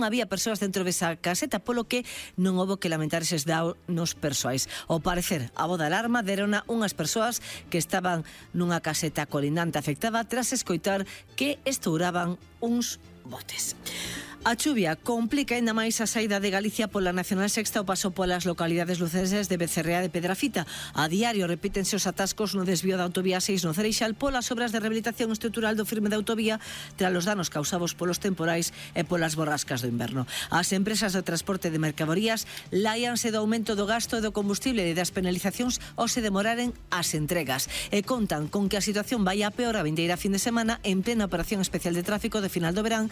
había persoas dentro desa caseta, polo que non houbo que lamentar eses danos persoais. Ao parecer, a voz de alarma derona unhas persoas que estaban nunha caseta colindante afectada tras escoitar que estouraban uns botes. A chuvia complica ainda máis a saída de Galicia pola Nacional Sexta ao paso polas localidades lucenses de Becerrea de Pedrafita. A diario repítense os atascos no desvío da autovía 6 no Cereixal polas obras de rehabilitación estrutural do firme da autovía tras os danos causados polos temporais e polas borrascas do inverno. As empresas de transporte de mercadorías láianse do aumento do gasto e do combustible e das penalizacións ao se demoraren as entregas e contan con que a situación vai a peor a vindeira fin de semana en plena operación especial de tráfico de final do verán.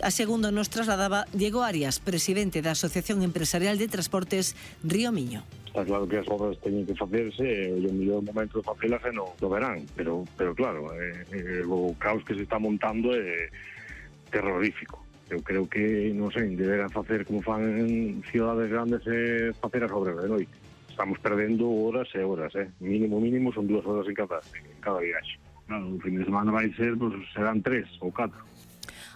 A segundo nos trasladaba Diego Arias, presidente da Asociación Empresarial de Transportes Río Miño. Está claro que as obras teñen que facerse e o mellor momento de facelas é no verán, pero claro, o caos que se está montando é terrorífico. Eu creo que, non sei, deberán facer como fan en cidades grandes e facer as obras de noite. Estamos perdendo horas e horas, mínimo son 2 horas en cada viaxe. Claro, o fin de semana vai ser, pues, serán 3 ou 4.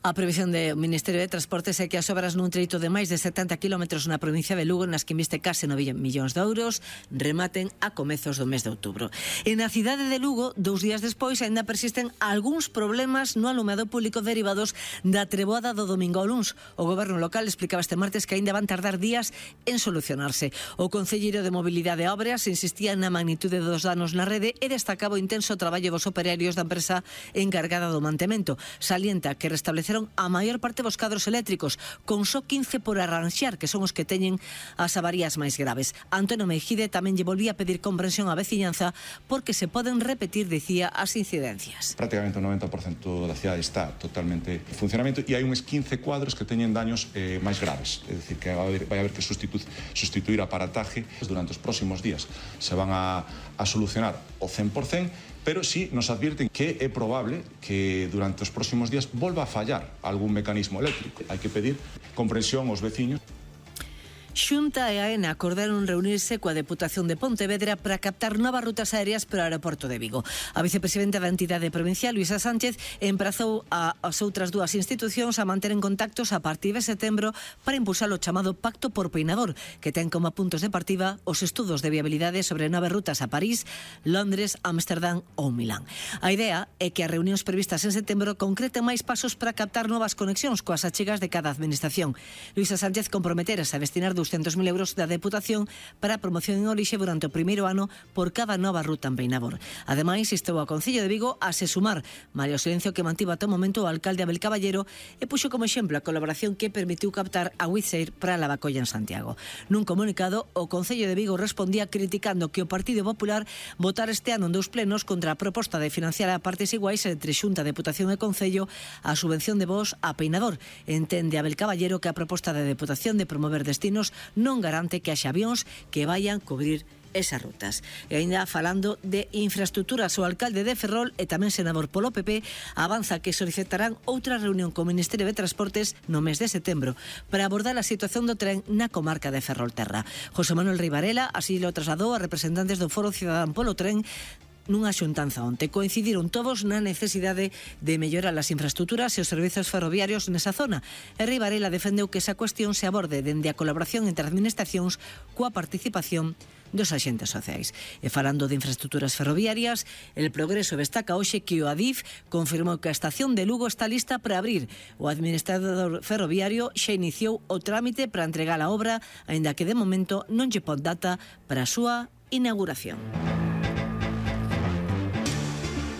A previsión do Ministerio de Transportes é que as obras nun treito de máis de 70 km na provincia de Lugo, nas que investe case 9 millóns de euros, rematen a comezos do mes de outubro. E na cidade de Lugo, 2 días despois, aínda persisten algúns problemas no alumeado público derivados da treboada do domingo ao luns. O goberno local explicaba este martes que aínda van tardar días en solucionarse. O concelleiro de Mobilidade e Obras insistía na magnitude dos danos na rede e destacaba o intenso traballo dos operarios da empresa encargada do mantemento. Salienta que restableceron a maior parte dos cadros eléctricos, con só 15 por arranxar, que son os que teñen as avarías máis graves. Antonio Meijide tamén lle volvía a pedir comprensión á veciñanza porque se poden repetir, dicía, as incidencias. Prácticamente o 90% da cidade está totalmente en funcionamento e hai uns 15 cuadros que teñen daños máis graves. É dicir, que vai haber que sustituir a aparataje durante os próximos días. Se van a solucionar o 100%, pero sí nos advirten que é probable que durante os próximos días volva a fallar algún mecanismo eléctrico. Hai que pedir comprensión aos veciños. Xunta e AENA acordaron reunirse coa Deputación de Pontevedra para captar novas rutas aéreas para o aeroporto de Vigo. A vicepresidenta da entidade provincial, Luisa Sánchez, emprazou as outras dúas institucións a manter en contactos a partir de setembro para impulsar o chamado Pacto por Peinador, que ten como puntos de partida os estudos de viabilidade sobre novas rutas a París, Londres, Ámsterdam ou Milán. A idea é que as reunións previstas en setembro concreten máis pasos para captar novas conexións coas achegas de cada administración. Luisa Sánchez comprometerase a destinar 200.000 euros da Deputación para a promoción en orixe durante o primeiro ano por cada nova ruta en Peinador. Ademais, instou ao Concello de Vigo a se sumar, malia o silencio que mantivo ata o momento o alcalde Abel Caballero e puxo como exemplo a colaboración que permitiu captar a Wizz Air para a Lavacolla en Santiago. Nun comunicado, o Concello de Vigo respondía criticando que o Partido Popular votara este ano en 2 plenos contra a proposta de financiar a partes iguais entre Xunta, Deputación e Concello a subvención de voos a Peinador. Entende Abel Caballero que a proposta da Deputación de promover destinos non garante que haxa avións que vayan cubrir esas rutas. E ainda falando de infraestructuras, o alcalde de Ferrol e tamén senador polo PP avanza que solicitarán outra reunión co Ministerio de Transportes no mes de setembro para abordar a situación do tren na comarca de Ferrolterra. José Manuel Rei Varela así lo trasladou a representantes do Foro Cidadán polo Tren nunha xuntanza onte. Coincidiron todos na necesidade de mellorar as infraestructuras e os servizos ferroviarios nesa zona. E Rei Varela defendeu que esa cuestión se aborde dende a colaboración entre administracións coa participación dos axentes sociais. E falando de infraestructuras ferroviarias, El Progreso destaca hoxe que o Adif confirmou que a estación de Lugo está lista para abrir. O administrador ferroviario xa iniciou o trámite para entregar a obra, aínda que de momento non lle pon data para a súa inauguración.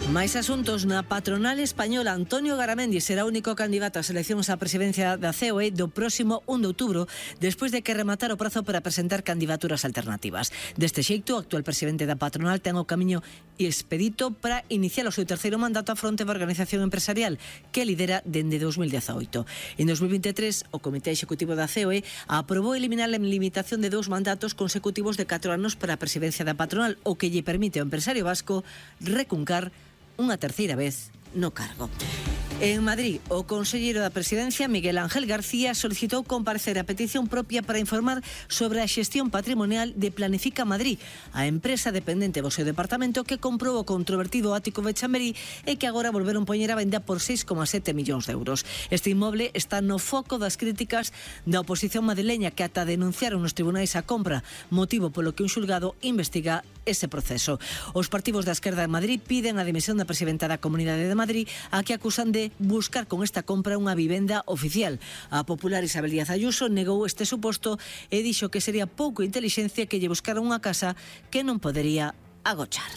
Máis asuntos. Na patronal española, Antonio Garamendi será o único candidato ás eleccións á presidencia da COE do próximo 1 de outubro, despois de que rematara o prazo para presentar candidaturas alternativas. Deste xeito, o actual presidente da patronal ten o camiño expedito para iniciar o seu terceiro mandato a fronte da organización empresarial que lidera dende 2018. En 2023, o Comité Executivo da COE aprobou eliminar a limitación de 2 mandatos consecutivos de 4 anos para a presidencia da patronal, o que lle permite ao empresario vasco recuncar unha terceira vez no cargo. En Madrid, o conselleiro da Presidencia, Miguel Ángel García, solicitou comparecer a petición propia para informar sobre a xestión patrimonial de Planifica Madrid, a empresa dependente do seu departamento que comprou o controvertido ático de Chamberí e que agora volveron poñer a venda por 6,7 millóns de euros. Este inmoble está no foco das críticas da oposición madrileña que ata denunciaron nos tribunais a compra, motivo polo que un xulgado investiga ese proceso. Os partidos da esquerda en Madrid piden a dimisión da presidenta da Comunidade de Madrid, a que acusan de buscar con esta compra unha vivenda oficial. A popular Isabel Díaz Ayuso negou este suposto e dixo que sería pouco intelixencia que lle buscara unha casa que non podería agochar.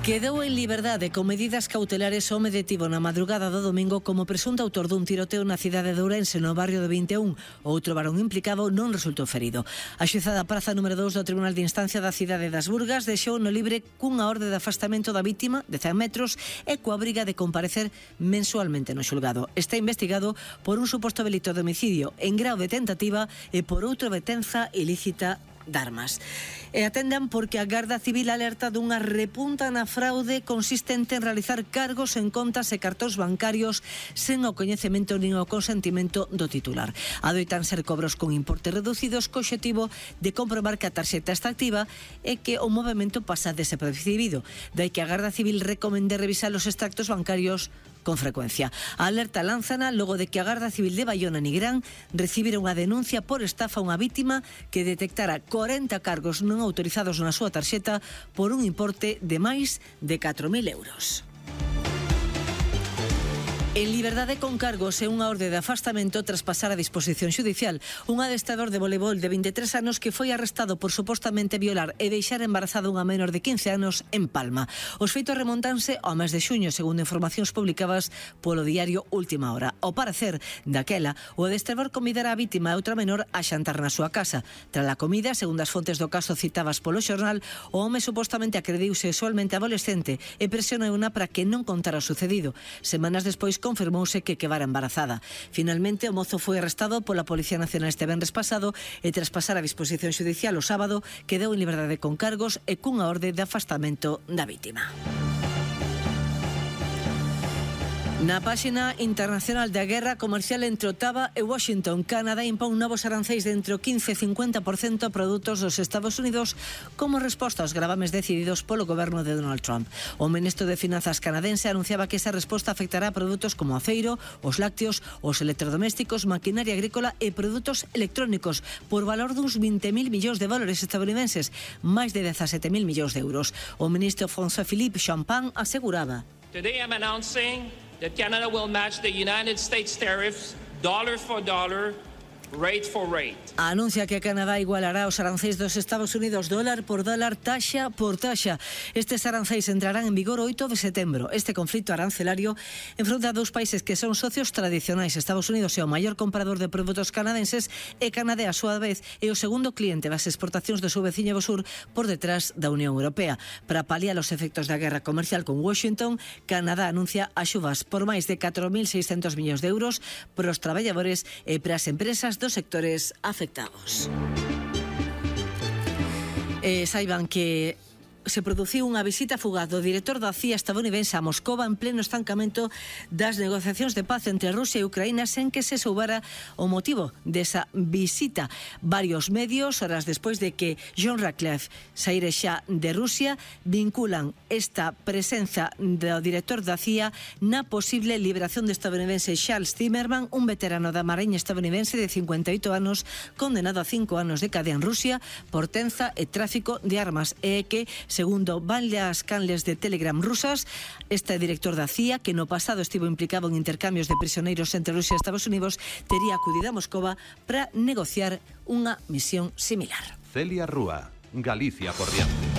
Quedou en liberdade con medidas cautelares o home detivo na madrugada do domingo como presunto autor dun tiroteo na cidade de Ourense, no barrio de 21. Outro varón implicado non resultou ferido. A xuizada praza número 2 do Tribunal de Instancia da cidade das Burgas deixou no libre cunha orde de afastamento da vítima de 100 metros e coa obriga de comparecer mensualmente no xulgado. Está investigado por un suposto delito de homicidio en grao de tentativa e por outro detenza ilícita de armas. E atendan porque a Garda Civil alerta dunha repunta na fraude consistente en realizar cargos en contas e cartóns bancarios sen o coñecemento nin o consentimento do titular. Adoitan ser cobros con importes reducidos co obxectivo de comprobar que a tarxeta está activa e que o movimento pasa desapercibido. Dai que a Garda Civil recomende revisar os extractos bancarios con frecuencia. A alerta lánzana logo de que a Garda Civil de Baiona Nigrán recibira unha denuncia por estafa a unha vítima que detectara 40 cargos non autorizados na súa tarxeta por un importe de máis de 4.000 euros. En liberdade con cargos e unha orde de afastamento tras pasar a disposición xudicial. Un adestrador de voleibol de 23 anos que foi arrestado por supostamente violar e deixar embarazada unha menor de 15 anos en Palma. Os feitos remontanse ao mes de xuño, segundo informacións publicadas polo diario Última Hora. Ao parecer, daquela, o adestrador convidara a vítima e outra menor a xantar na súa casa. Tras a comida, segundo as fontes do caso citadas polo xornal, o home supostamente agrediu sexualmente a adolescente e presionouna para que non contara o sucedido. Semanas despois confirmouse que quedara embarazada. Finalmente, o mozo foi arrestado pola Policía Nacional este venres pasado e tras pasar a disposición xudicial o sábado quedou en liberdade con cargos e cunha orde de afastamento da vítima. Na páxina internacional da guerra comercial entre Ottawa e Washington, Canadá impón novos arancéis de entre o 15 e 50% a produtos dos Estados Unidos como resposta aos gravames decididos polo goberno de Donald Trump. O ministro de Finanzas canadense anunciaba que esa resposta afectará a produtos como aceiro, os lácteos, os electrodomésticos, maquinaria agrícola e produtos electrónicos por valor duns 20.000 millóns de dólares estadounidenses, máis de 17.000 millóns de euros. O ministro François-Philippe Champagne aseguraba: Today I'm announcing that Canada will match the United States tariffs dollar for dollar, rate for rate. Anuncia que Canadá igualará os arancéis dos Estados Unidos dólar por dólar, taxa por taxa. Estes arancéis entrarán en vigor o 8 de setembro. Este conflito arancelario enfronta a dous países que son socios tradicionais. Estados Unidos é o maior comprador de produtos canadenses e Canadá, a súa vez, é o segundo cliente das exportacións do seu veciño do sur por detrás da Unión Europea. Para paliar os efectos da guerra comercial con Washington, Canadá anuncia axudas por máis de 4.600 millóns de euros para os traballadores e para as empresas dos sectores afectados. Saiban que se produciu unha visita fugaz do director da CIA estadounidense a Moscova en pleno estancamento das negociacións de paz entre Rusia e Ucraína sen que se soubera o motivo desa visita. Varios medios, horas despois de que John Ratcliffe saíre xa de Rusia, vinculan esta presenza do director da CIA na posible liberación do estadounidense Charles Zimmerman, un veterano da Mariña estadounidense de 58 anos condenado a 5 anos de cadea en Rusia por tenza e tráfico de armas, e que segundo varias canles de Telegram rusas, este director da CIA, que no pasado estivo implicado en intercambios de prisioneiros entre Rusia e Estados Unidos, tería acudido a Moscova para negociar unha misión similar. Celia Rúa, Galicia por diante.